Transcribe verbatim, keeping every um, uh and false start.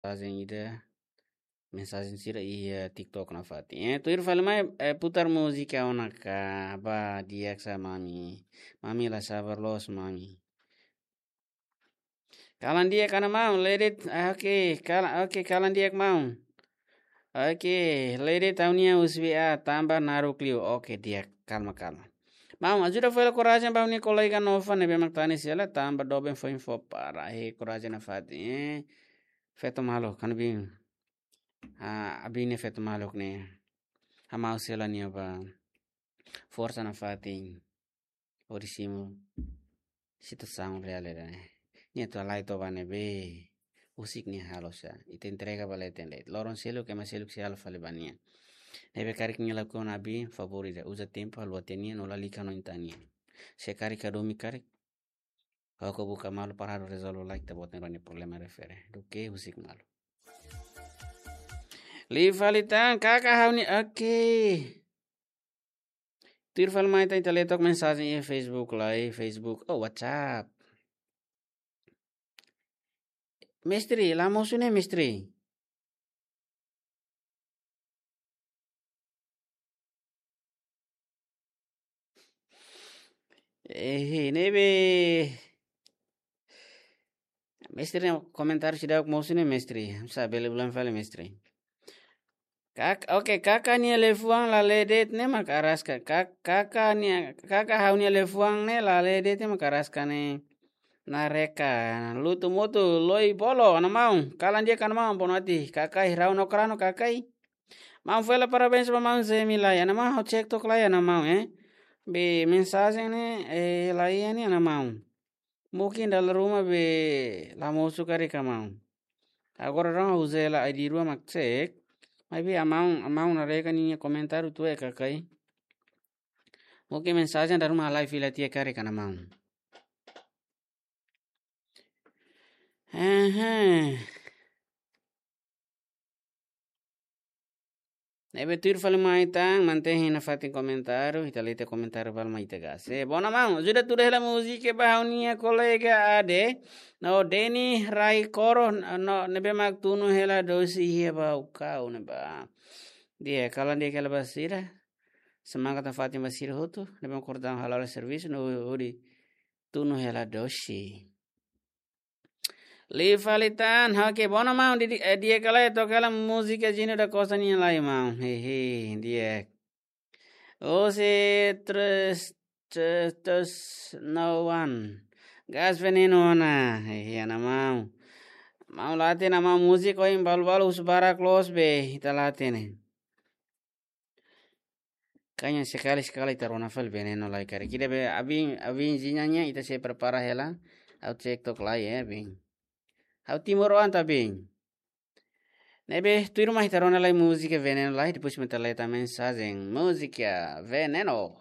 mensajen ida, mensajen sira iha TikTok nafatin. Eh, tuir fali mai, eh, putar múzika ona ka, ba di'ak sa mami. Mami la sabar loos mami. Kalan di'ak ka maun, ledet, ah, oke, kalan, oke, kalan di'ak maun. Oke, ledet ha'u-nia U S B A, tanba naruk liu. Oke, di'ak, kalma, kalma. Maun, ajuda fó hela korajen ba ha'u-nia kolega Nova ne'ebé mak tanis hela, tanba doben foin fó para, eh, korajen nafatin, eh. Feto maluk, kan bin. Ah, abin ne'e feto maluk ne'e. Hamau sela nia ba. Forsa nafatin. Hodi simu situasaun reál ida-ne'e. Nia atu halai to'o ba ne'ebé. Husik nia halo sa. Ita entrega ba leten de'it. Loron seluk, ema seluk sei halo fali ba nia. Ne'ebé karik nia lakukan abin, favór ida. Uza tempu, haluha tiha nia, no lalika no inta nia. Se karik hadomi karik. Ha'u hakarak buka malu para ha'u rezolve lai ita-boot nia problema refere. Duké husik malu. Liu fali tan, kaka ha'u-nia, oke. Tuir fali mai tan ita lee took mensajen iha Facebook lai, Facebook. Oh, WhatsApp. Mestre, la mosu ne'e, mestre. Eh, ne'ebé. Mestre, komentáriu seidauk mosu ne'e, mestre. Sa bele bulan fali, mestre. Kak-, oke, kaka nia liafuan la lee de'it ne'e mak araska. Kak-, kaka nia, kaka ha'u-nia liafuan ne'e la lee de'it ne'e mak araska ne'e. Nareka, lutu mutu, loi bolo, ana maun. Kalan di'ak ka ana maun, bono ati. Kakai, rau no krano, kakai. Maun fó hela parabéns ba maun Zemi lai. Ana maun, ha'u cek took lai, ana maun, eh. Be mensajen ne'e, eh, lai ne'e, ana maun. Mungkin dala ruma be la mosu karik ka maun. Agora rona ha'u uza hela I D rua mak cek. Maibé amaun, amaun nareka nia komentáriu tuir kakai. Mungkin mensajen dala ruma halai fila tiha karik ka ana maun. Hehe. Ne'ebé tuir fali mai tan, mantein nafatin komentáriu, ita lee tiha komentáriu balu mai ita gase. Bona maun, ajuda tuda hela múzika ba ha'u-nia kolega Ade. No Deni Rai Koro, no ne'ebé mak tunu hela dosi iha ba ukau ne'ebá. Di'ak, kalan di'ak hela ba sira. Semangat nafatin ba sira hotu, ne'ebé mak kordang hala'o servisu, no hodi tunu hela dosi. Liu fali tan, oke, bona maun, di, di, eh, di'ak ka lae, toka hela múzika Júnior da Costa nian lai maun. Hehe, di'ak. Ose tres, tres, tres, no one. Gás veneno ona. Hehe, ana maun. Maun la hatene maun múzika ohin balu-balu husu barak loos be, ita la hatene. Kanya sekali-sekali ita rona fali veneno lai karik. Ida be abin, abin zinya nia ita sei prepara hela. Ha'u cek took lai, eh, abin. Ha'u timoroan ita abin. Ne'ebé tuir mai ita rona lai múzika veneno lai, depois mai ita lee tan mensajen. Múzika veneno.